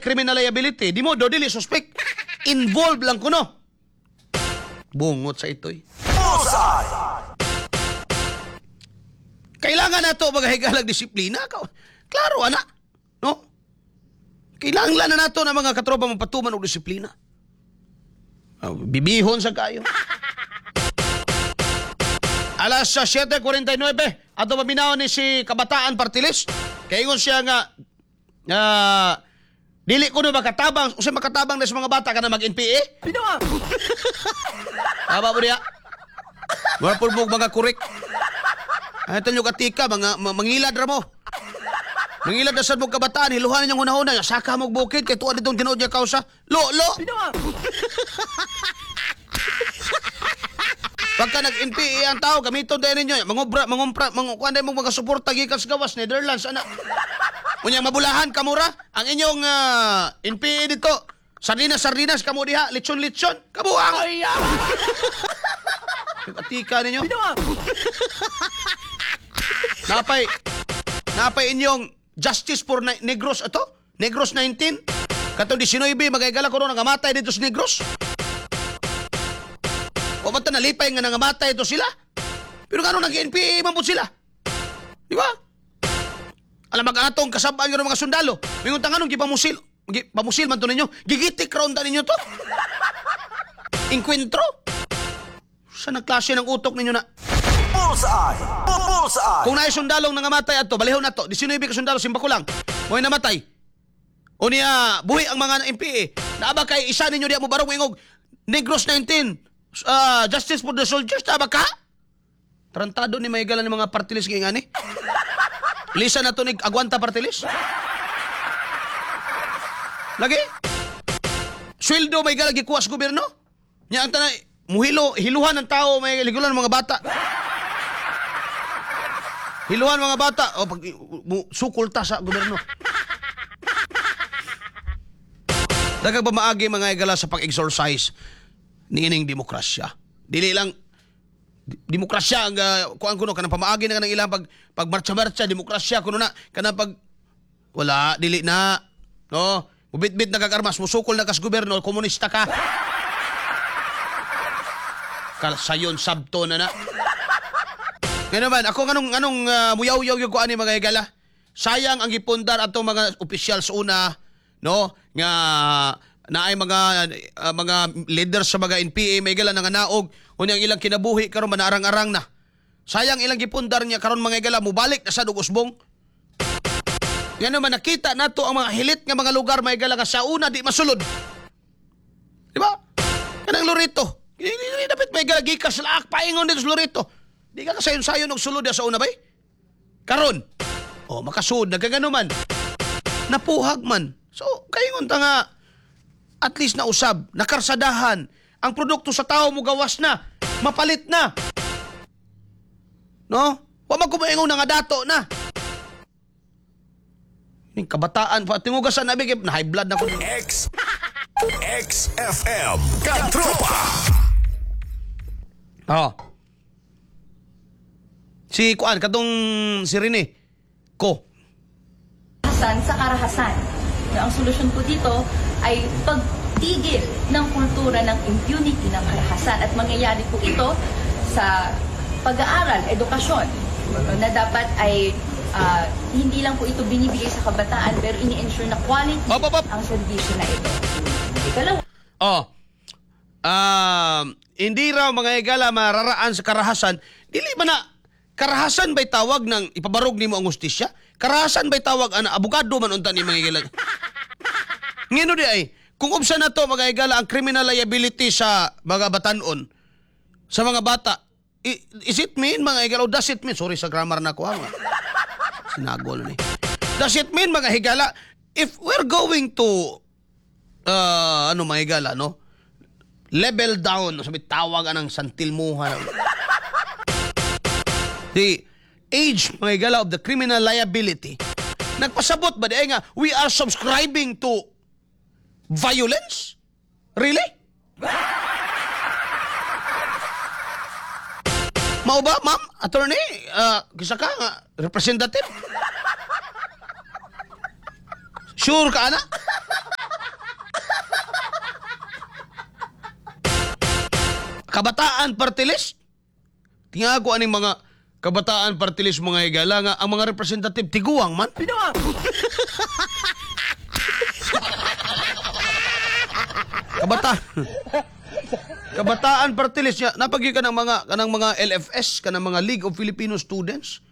criminal liability, di mo do dili suspect. Involved lang kuno. Bungot sa itoy. Bullseye! Kailangan na to mga higalag disiplina. Klaro, ana. No? Kailangan na nato na mga katropa mapatuman og disiplina. Ah, bibihon sa kayo. Alas sa 7:49, ato paminaw ni si Kabataan Partilis. Kaingon siya nga dili ko na makatabang, usa makatabang na sa mga bata kana mag-NPA. Pinoa! Tama mo niya. Wala po mo mga kurik. Ay, tanyo katika, mga mangilad ra mo. Mangilad na sad mo kabataan, hiluhan ninyong hunahuna. Saka mo bukid, kay tuwa ditong tinuod niya kausa. Lo, lo! Pinoa! Pagka nag-NPA ang tao, gamiton tayo ninyo. Mangubra, mangumpra, mangukuan mo mga suporta gikan sa gawas, Netherlands, ana. Unya mabulahan kamura ang inyong NPA dito. Sardinas, sardinas, kamo diha, litson, litson, kabuang. Katika ninyo. Pinoa! Napay napay inyong justice for Negros ato? Negros 19? Katong 19 magaygala ko nangamatay dito sa Negros. O ba ta nalipay nga nangamatay ito sila? Pero ngano nag-NPA man pud sila? Di ba? Alam mag atong kasabaan ng mga sundalo. Mingon ta nganong gipamusil, gipamusil man to ninyo. Gigitik raon ta ninyo to. Inkwentro. Sa nagklase ng utok ninyo na? Bullseye! Bullseye! Kung naay sundalong nangamatay adto, balihon nato. 19 ka sundalo simba ko lang. Mo'y namatay. O niya, buhi ang mga NPA. Naa ba kay isa ninyo diya mo barong ingog Negros 19, justice for the soldiers, naa ba ka? Tarantado ni may ni mga partilis ngayon ani. Lisa na to ni Aguanta Partilis. Lagi? Sweldo may gala gikuha sa gobyerno? Nya ang tanay, muhilo, hiluhan ng tao, may ligulan ng mga bata. Hiluhan mga bata. O, pag, sukol ta sa gobyerno. Daghang pamaagi mga igala sa pag-exercise niining demokrasya. Dili lang demokrasya ang kuan kuno kanang pamaagi na kanang ilang pag pagmarcha-marcha demokrasya kuno na kanang pag wala dili na, no, mubitbit na kag armas, musukol na kas gobyerno, komunista ka. Sayon sabto na na. Ngayon naman, ako nganong nganong muyaw-yaw yung kuan ni mga higala. Sayang ang gipundar atong mga opisyal sa una, no, nga naay mga mga leader sa mga NPA may gala nga naog unya ang ilang kinabuhi karon manaarang-arang na. Sayang ilang gipundar niya karon mga higala mubalik na sa usbong. Nga naman nakita nato ang mga hilit nga mga lugar mga higala nga sa una di masulod. Di ba? Kanang Loreto. Di dapat may gala gikas laak paingon dito sa Loreto. Di ka kasayon-sayon og sulod sa una bay. Karon. Oh, makasud nagkagano man. Napuhag man. So, kayingon ta nga at least nausab, nakarsadahan, ang produkto sa tao mo gawas na, mapalit na. No? Wa man kumaingon nga dato na. Ning kabataan pa tingugasan na bigay na high blood na ko. X XFM Katropa! Oo. Si kuan katong si Rene ko. Karahasan sa karahasan. Na ang solusyon po dito ay pagtigil ng kultura ng impunity ng karahasan at mangyayari po ito sa pag-aaral, edukasyon, na dapat ay hindi lang po ito binibigay sa kabataan pero ini-ensure na quality Op, op, op. ang serbisyo na ito. Ikalawa, Oh. Hindi raw mga higala mararaan sa karahasan. Dili ba na karahasan ba'y tawag ng ipabarog nimo ang hustisya? Karahasan ba'y tawag ana abogado man unta ni mga higala? Ngino di ay kung ubsa na to mga higala ang criminal liability sa mga batanon, sa mga bata, is it mean mga higala o does it mean, sorry sa grammar na ko ha, mga sinagol ni. Does it mean mga higala if we're going to ano mga higala, no? Level down, sabi tawag anang santilmuhan. The age mga higala of the criminal liability. Nagpasabot ba di ay nga we are subscribing to violence? Really? Mao ba, ma'am? Attorney? Kisa ka nga, representative? Sure ka, ana? Kabataan Party List? Tingago aning mga Kabataan Party List, mga higala, nga ang mga representative tiguang man. Kabataan Party List niya, napagyo ka ng mga kanang mga LFS, kanang mga League of Filipino Students.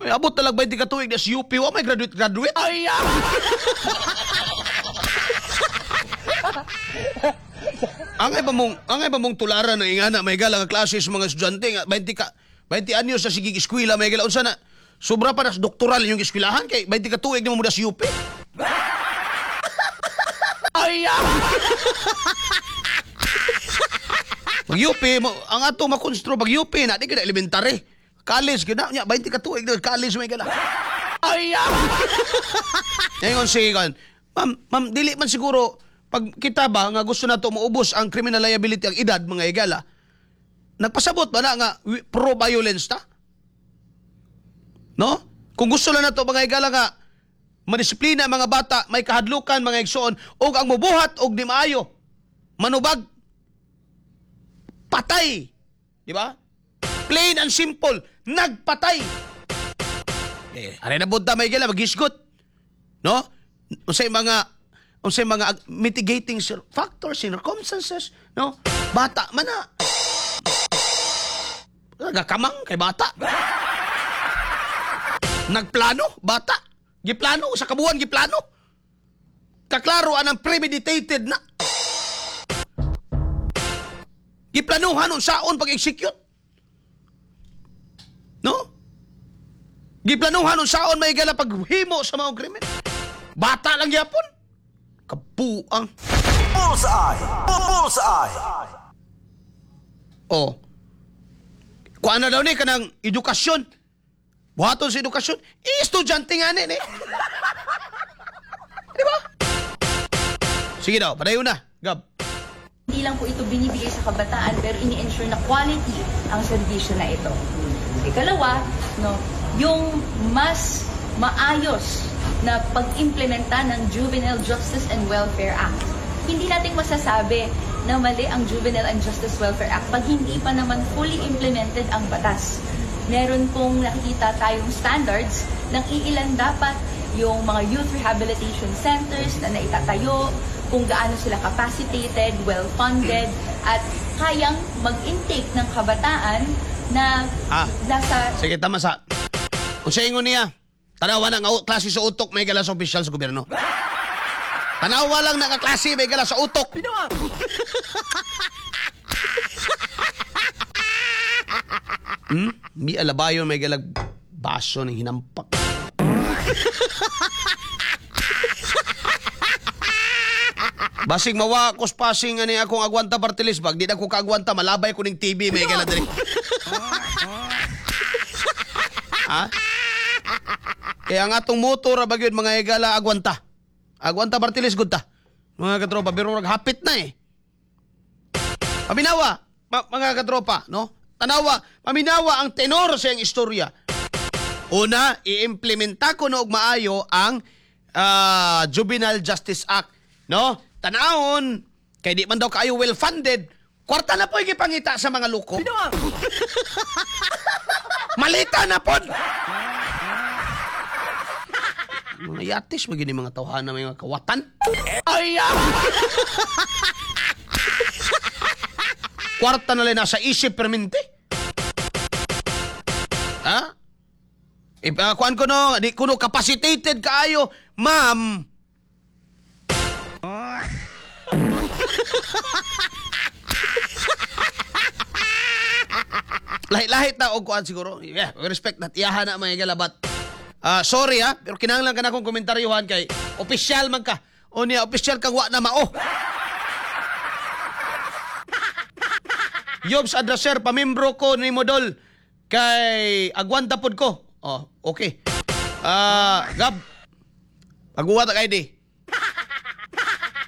Ay, abot talag 20 ka tuig na sa UP, wa may graduate graduate. Ay! Ang iba mong tularan ng ingana may gala nga klase sa mga estudyante nga 20 ka 20 anyos sa sige eskwela, may gala, unsa na, sobra pa na sa doktoral yung eskwelahan kay 20 ka tuig na mo sa UP. Ay! Pag UP, mo, ang ato makonstro pag UP na di ka na elementary. College ka na, nya 20 ka tuig na college, may gala. Ay! Ngayon si kan, ma'am, ma'am, dili man siguro pag kita ba nga gusto nato maubos ang criminal liability ang edad, mga higala. Nagpasabot ba na nga pro-violence ta? No? Kung gusto lang nato, mga higala, nga madisiplina ang mga bata, may kahadlukan mga igsoon og ang mubuhat og di maayo manubag, patay. Di ba? Plain and simple, nagpatay. Eh, aray na bunta, may higala, maghisgot. No? Unsay mga mitigating factors, circumstances, no? Bata man na. Nagakamang kay bata. Nagplano, bata. Giplano sa kabuan, giplano. Kaklaro anang premeditated na. Giplanuhan unsaon pag-execute. No? Giplanuhan unsaon, may gala, paghimo sa mga krimen. Bata lang gyapon. Kabuang. Bullseye! Bullseye! Oh. Kuan na daw ni kanang edukasyon. Buhaton sa edukasyon. Eh, estudyante nga ni. Di ba? Sige daw, padayon na. Gab. Hindi lang po ito binibigay sa kabataan pero ini-ensure na quality ang serbisyo na ito. Ikalawa, no, yung mas maayos na pag-implementa ng Juvenile Justice and Welfare Act. Hindi natin masasabi na mali ang Juvenile and Justice Welfare Act pag hindi pa naman fully implemented ang batas. Meron pong nakikita tayong standards ng iilan dapat yung mga youth rehabilitation centers na naitatayo, kung gaano sila capacitated, well-funded, at kayang mag-intake ng kabataan na nasa Sige, tama sa. Kung sa ingon niya, tanawa na nga klase sa utok, may gala sa opisyal sa gobyerno. Tanawa lang na nga klase, may gala sa utok. Di alabayon, may galag baso ng hinampak. Basig mawa ko passing ani akong agwanta party list bag di na ko kaagwanta, malabay ko ning TV, may gala diri. Ha? Kaya ang atong motor ra ba gyud, mga higala, agwanta. Agwanta party list gud ta. Mga katropa, pero hapit na eh. Paminawa, mga katropa, no? Tanawa, paminawa ang tenor sa iyang istorya. Una, iimplementa ko na og maayo ang Juvenile Justice Act, no? Tanawon, kay di man daw kaayo well-funded, kwarta na po gipangita sa mga luko. Malita na pod! Mga yatis, magini mga tawhana, may mga kawatan. Ay! Kwarta na lang nasa isip permente. Ha? Kuan ko no, di kuno capacitated kaayo, ma'am. Lahi-lahi ta og kuan siguro. Yeah, respect that. Iyahan na mga galabat. Sorry ha, pero kinahanglan ka na akong komentaryuhan kay opisyal man ka. O niya, opisyal kang wa na mao. Jobs addresser, pamimbro ko ni Modol kay agwanta pod ko. Oh, okay. Gab. Pagbuhat og ID.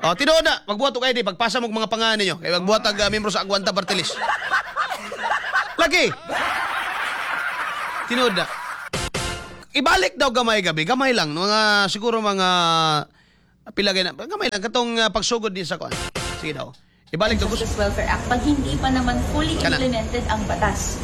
Oh, tinuod na, magbuhat og ID pagpasa mo og mga pangalan ninyo. Kay magbuhat og membro sa Agwanta Party List. Lagi. Tinuod na. Ibalik daw gamay gabi, gamay lang mga siguro mga pila gay na, gamay lang katong pagsugod din sa kuan. Sige daw. Ibalik to gusto. Justice Welfare Act pag hindi pa naman fully Kana. Implemented ang batas.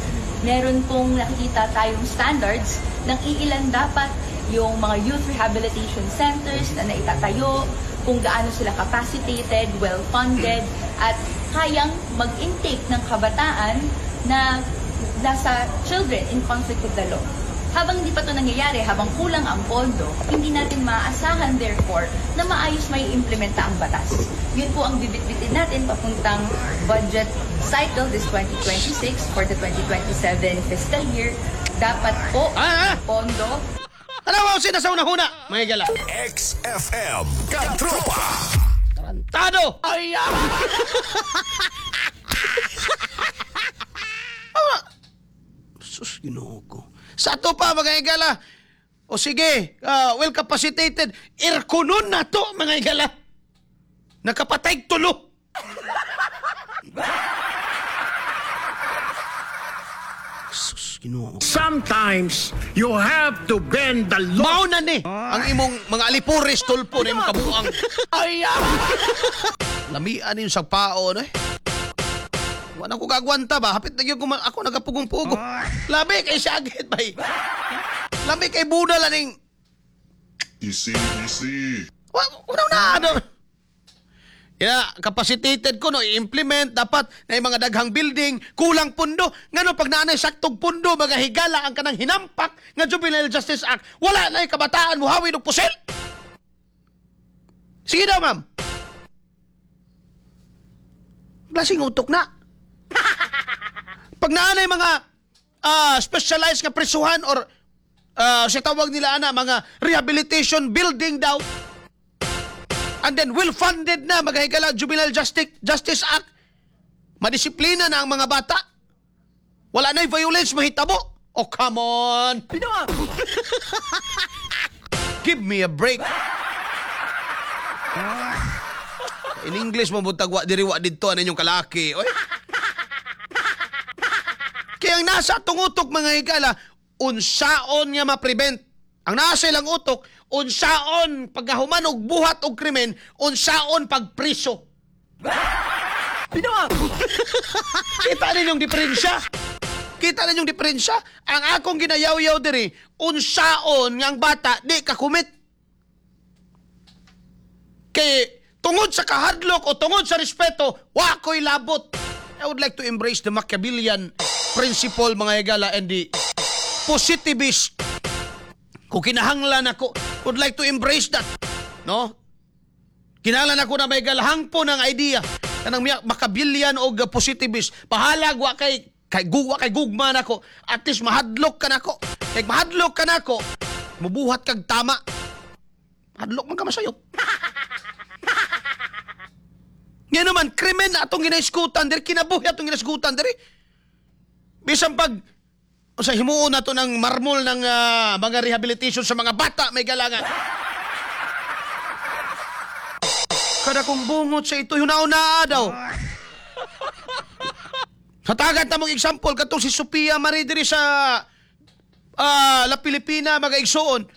Meron pong nakikita tayong standards ng iilan dapat yung mga youth rehabilitation centers na naitatayo, kung gaano sila capacitated, well-funded, at kayang mag-intake ng kabataan na nasa children in conflict with the law. Habang hindi pa ito nangyayari, habang kulang ang pondo, hindi natin maaasahan therefore na maayos mai-implementa ang batas. Yun po ang bibitbitin natin papuntang budget cycle this 2026 for the 2027 fiscal year. Dapat po Ah, ah! pondo. Ano ba sina sa una-huna? Mga higala. XFM Katropa. Tarantado! Ay, ah! Ah! Sus, Ginoo ko. Sa ato pa, mga higala. O sige, well capacitated. Airconon na to, mga higala. Nakapatay tulo. Sus, Ginoo ko. Sometimes you have to bend the law. Mao na ni ang imong mga alipores, Tulfo, na imong kabuang. Ay, ah! Lamian yung sa pao, no eh. Wala ko kagwanta ba? Hapit na gyud ko ako nagapugong-pugo. Labi kay sagit bay. Labi kay budal aning Easy, easy. Wa una na ano. Yeah, capacitated ko no i-implement dapat na yung mga daghang building, kulang pundo. Ngano pag naanay saktog pundo, mga higala, ang kanang hinampak nga Juvenile Justice Act, wala na yung kabataan muhawid og pusil. Sige daw, ma'am. Klaseng utok na. Pag naanay mga specialized nga prisuhan or sa tawag nila ana mga rehabilitation building daw, and then well-funded na, mga higala, Juvenile Justice Act, madisiplina na ang mga bata. Wala na violence mahitabo. Oh, come on. Give me a break. In English mo buntag wa diri wa didto ano inyong kalaki. Oy. Kaya ang nasa atong utok, mga higala, unsaon nga ma-prevent. Ang nasa ilang utok, unsaon pagkahuman og buhat og krimen, unsaon pagpriso. Kita ninyong diferensya. Kita ninyong diferensya. Ang akong ginayaw-yaw diri, unsaon nga ang bata di ka commit. Kay tungod sa kahadlok o tungod sa respeto, wa ko'y labot. I would like to embrace the Machiavellian principle, mga higala, and the positivist. Kung kinahanglan ako, would like to embrace that. No? Kinahanglan ako na may galahang po ng idea. Kanang Machiavellian o positivist. Bahalag wa kay gugma nako. At least mahadlok ka nako. Kay mahadlok ka nako, mubuhat kag tama. Hadlok man ka masayop. Nga naman, krimen na atong ginaiskutan diri, kinabuhi atong ginaiskutan diri. Bisan pag sa himuon nato ng marmol ng mga rehabilitation sa mga bata, may galangan. Kada kong bungot sa ito, hunauna daw. Hatagan ta mong example, katong si Sophia Marie diri sa La Pilipina, mga igsoon.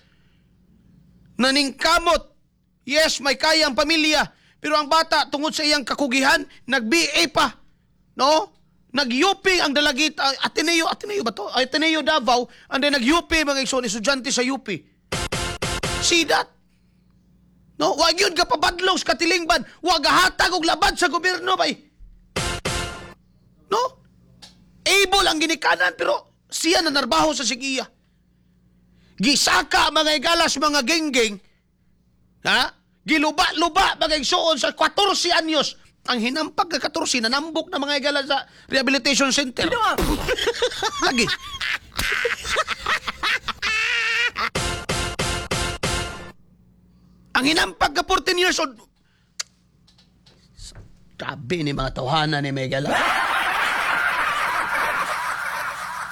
Naningkamot. Yes, may kayang pamilya. Pero ang bata, tungod sa iyang kakugihan, nag-BA pa. No? Nag-UP ang dalagita, Ateneo, Ateneo ba to? Ateneo Davao, and then nag-UP, mga igsoon, estudyante sa UP. See that? No? Wag yun ka pabadlong sa katilingban. Wag hatag og labad sa gobyerno bay. No? Able ang ginikanan pero siya na narbaho sa sigiya. Gisaka, mga igalas, mga genggeng. Ha? Giluba-luba, mga igsoon, sa 14 anyos. Ang hinampag nga 14 nanambok na, mga igala, sa rehabilitation center. Lagi. Ang hinampag ka 14 years old. Grabe ni mga tawhana ni Megala.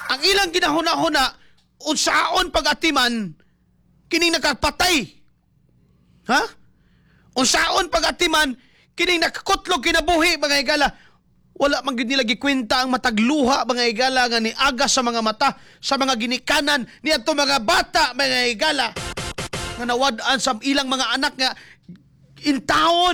Ang ilang ginahuna-huna, unsaon pag-atiman, kining nakapatay. Ha? Unsaon pag-atiman, kining nakakutlog kinabuhi, mga higala. Wala man gyud nila gikwenta ang matagluha, mga higala, nga niaga sa mga mata, sa mga ginikanan ni ato mga bata, mga higala, nga nawad-an sa ilang mga anak nga in town.